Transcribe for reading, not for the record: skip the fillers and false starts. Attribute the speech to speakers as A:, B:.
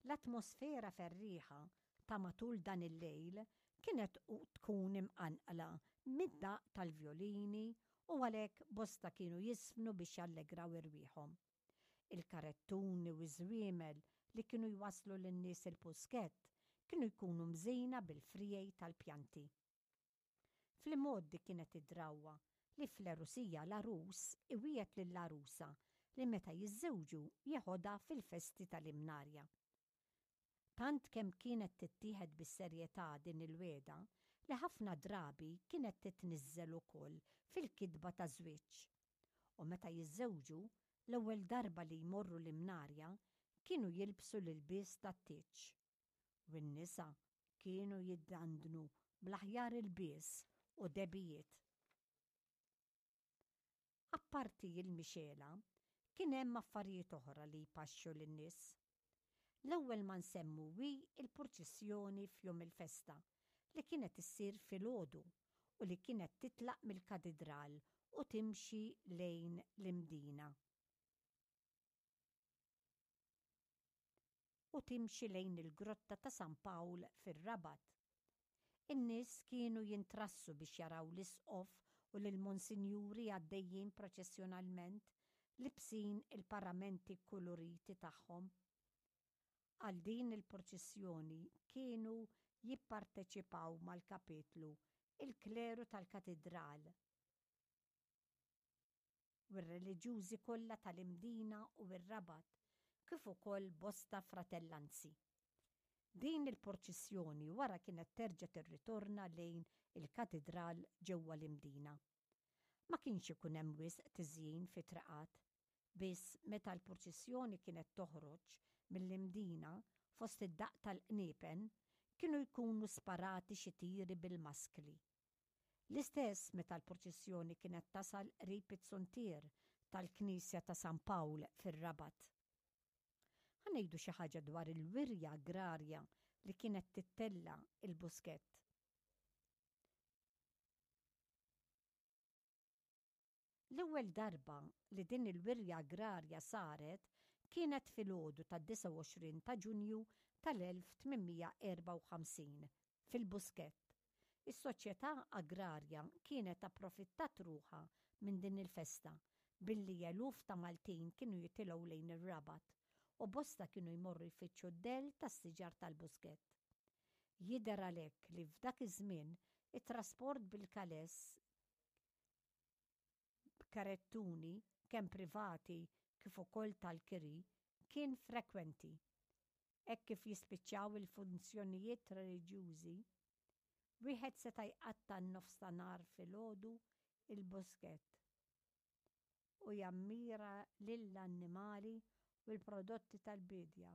A: L-atmosfera ferrieħa ta' matul dan il-lejl kienet tkun imqanqla mid-daqq tal-vjolini u għalhekk bosta kienu jiżfnu biex jallegraw irwieħhom. Il-karettuni u ż-żwiemel li kienu jwasslu lin-nies il-Buskett kienu jkunu mżejna bil-friegħi tal-pjanti. Fl-imgħoddi kienet id-drawwa li fl-għerusija l-għarus iwiegħed lill-għarusa li meta jiżżewġu jeħodha fil-festi tal-Imnarja. Tant kemm kienet tittieħed bis-serjetà din il-wegħda li ħafna drabi kienet titniżżel ukoll fil-kitba taż-żwieġ. U meta jiżżewġu, l-ewwel darba li jmorru l-Imnarja kienu jilbsu l-ilbies tat-tieġ. U n-nisa kienu jiddandnu bl-aħjar ilbies u dehbijiet. Apparti l-mixegħla, kien hemm affarijiet oħra li jpaxxu lin-nies. L-ewwel ma nsemmu hi l-purċissjoni f'jum il-festa li kienet issir filgħodu u li kienet titlaq mill-Katidral u timxi lejn l-Imdina. U timxi lejn il-Grotta ta' San Pawl fir-Rabat. In-nies kienu jintrassu biex jaraw l-Isqof u lill-Monsinjuri għaddejjin proċessjonalment, libsin il-paramenti kkuluriti tagħhom. Għal din il-purċissjoni kienu jipparteċipaw mal-Kapitlu il-kleru tal-Katidral. U r-reliġjużi kollha tal-Imdina u r-Rabat, kif ukoll bosta fratellanzi. Din il-purċissjoni wara kienet terġa' tirritorna lejn il-Katidral ġewwa l-Imdina. Ma kienx ikun hemm wisq tiżjin fit-triqat, biss meta l-purċissjoni kienet toħroġ mill-Imdina fost id-daqq tal-qniepen, kienu jkunu sparati xi tiri bil-maskli. L-istess meta l-purċissjoni kienet tasal qrib iz-zuntier tal-Knisja ta' San Pawl fir-Rabat. Ħa ngħidu xi ħaġa dwar il-wirja agrarja li kienet tittella' il-Buskett. L-ewwel darba li din il-wirja agrarja saret kienet filgħodu tad-29 ta' Ġunju tal-1854 fil-Buskett. Is-Soċjetà Agrarja kienet approfittat ruħha minn din il-festa billi eluf ta' Maltin kienu jitilgħu lejn ir-Rabat u bosta kienu jmorru jfittxu d-dell tas-siġar tal-Buskett. Jidher għalhekk li f'dak iż-żmien it-trasport bil-kaless b'karettuni kemm privati kif ukoll tal-kiri kien frekwenti. Hekk kif jispiċċaw il-funzjonijiet reliġjużi, wieħed seta' jqatta' n-nofstanhar filgħodu il-Buskett u jammira lill-annimali u l-prodotti tal-biedja.